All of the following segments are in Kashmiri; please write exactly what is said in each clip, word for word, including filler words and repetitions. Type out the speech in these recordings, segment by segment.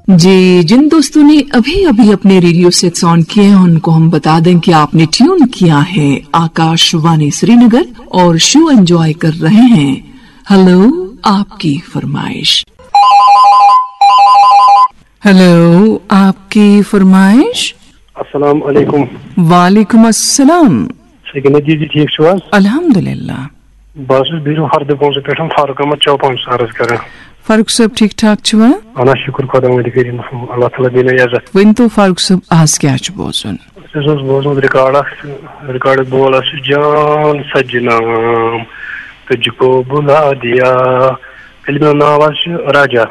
जी, जिन दोस्तों ने अभी अभी अपने रेडियो सेट्स ऑन किए हैं, उनको हम बता दें कि आपने ट्यून किया है आकाशवाणी श्रीनगर और शो एंजॉय कर रहे हैं। हेलो, आपकी फरमाइश। हेलो, आपकी फरमाइश। السلام علیکم۔ وعلیکم السلام۔ سکینہ جی، جی ٹھیک چھو حظ؟ الحمدللہ۔ بہٕ حظ چھُس بیٖرو ہردٕ بونٛزٕ پٮ۪ٹھ فاروق احمد چوپان عرض کران۔ فاروق صٲب، ٹھیٖک ٹھاک چھِوا؟ اہن حظ، شُکر خۄداوندِ کریٖمَس کُن، اللہ تعالیٰ دِیِن عزت۔ ؤنۍ تو فاروق صٲب، آز کیٛاہ چھُ بوزُن؟ اَسہِ حظ اوس بوزمُت ریکارڈ اکھ، ریکارڈُک بول حظ چھُ جان سجنام، تُجھ کو بُلا دِیا۔ فلمہِ ہُنٛد ناو حظ چھُ راجا۔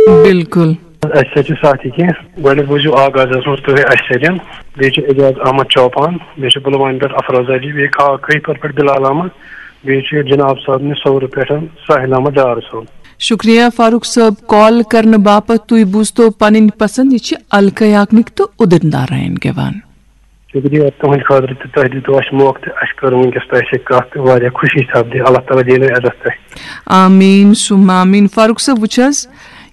بالکل۔ اَسہِ سۭتۍ چھِ ساتھی کینٛہہ۔ گۄڈٕنیتھ بوٗزِو آغازَس منٛز تُہۍ اَسہِ سۭتۍ۔ بیٚیہِ چھُ اعجاز احمد چوپان، بیٚیہِ چھُ پُلوامہِ پٮ۪ٹھ افروز علی، بیٚیہِ کھا-، کھٔہۍ پورِ پٮ۪ٹھ بلال احمد، بیٚیہِ چھُ جناب صٲب نِش صورٕ پٮ۪ٹھ ساحل احمد ڈار صٲب۔ شکریہ فاروق صٲب، کال کرنہٕ باپتھ۔ تُہۍ بوٗزتو پنٕنۍ پسند، یہِ چھِ الکا یاگنِک تہٕ اُدِت نارائن گٮ۪وان۔ شُکریہ تُہٕنٛدِ خٲطرٕ تہٕ تۄہہِ دیُتوُ اَسہِ موقعہٕ تہٕ اَسہِ کٔر وٕنکیٚس تۄہہِ سۭتۍ کَتھ تہٕ واریاہ خوشی سپدِ۔ اللہ تعالیٰ دِیِن عزت تۄہہِ۔ آمین ثم آمین۔ فاروق صٲب، وٕچھ حظ،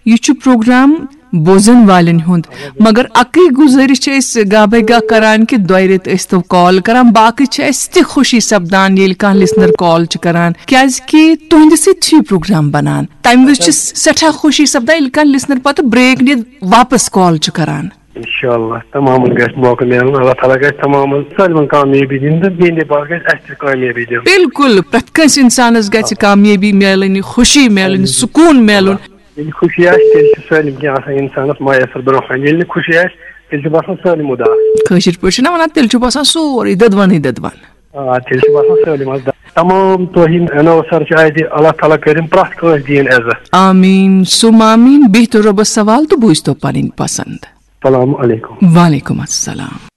یہِ چھُ پروگرام بوزن والٮ۪ن ہُنٛد، مگر اَکٕے گُزٲرِش چھِ أسۍ گاہ بے گاہ کران کہِ دۄیہِ رٮ۪تہٕ ٲسۍ تو کال کران، باقٕے چھِ اَسہِ تہِ خوشی سپدان ییٚلہِ کانٛہہ لسنر کال چھُ کران، کیازِ کہِ تُہنٛدِ سۭتۍ چھُ یہِ پروگرام بنان۔ تمہِ وِزِ چھِ سٮ۪ٹھاہ خوشی سپدان ییٚلہِ کانٛہہ لسنر پتہٕ بریک نِتھ واپس کال چھُ کران۔ انشاءاللہ تمامن گژھِ موقعہٕ میلُن، اللہ تعالیٰ گژھِ تمامن سٲلمن کامیٲبی دِنۍ تہٕ میٲنۍ باپتھ گژھِ اَسہِ تہِ کامیٲبی دِنۍ۔ بالکل، پرٛٮ۪تھ کٲنٛسہِ انسانس گژھِ کامیٲبی میلٕنۍ، خوشی میلٕنۍ، سکوٗن میلُن۔ ییٚلہِ خوشی آسہِ، تیٚلہِ چھِ سٲلِم کینٛہہ آسان انسانس میسر برونٛہہ کنہِ۔ ییٚلہِ نہٕ خوشی آسہِ، تیٚلہِ چھُ باسان سٲلِم اُداس۔ کٲشِر پٲٹھۍ چھِنہ ونان، تیٚلہِ چھُ باسان سورُے دٔدوَنٕے دٔدوَن۔ آ، تیٚلہِ چھُ باسان سٲلِم اَز۔ تمام توہیٖن انوسر چھِ اَتہِ، اللہ تعالیٰ کٔرِن پرٛٮ۪تھ کٲنٛسہِ دِیِن عزت۔ آمین ثم آمین۔ بِہتو رۄبس سوال تہٕ بوٗزتو پنٕنۍ پسند۔ السلام علیکم۔ وعلیکم السلام۔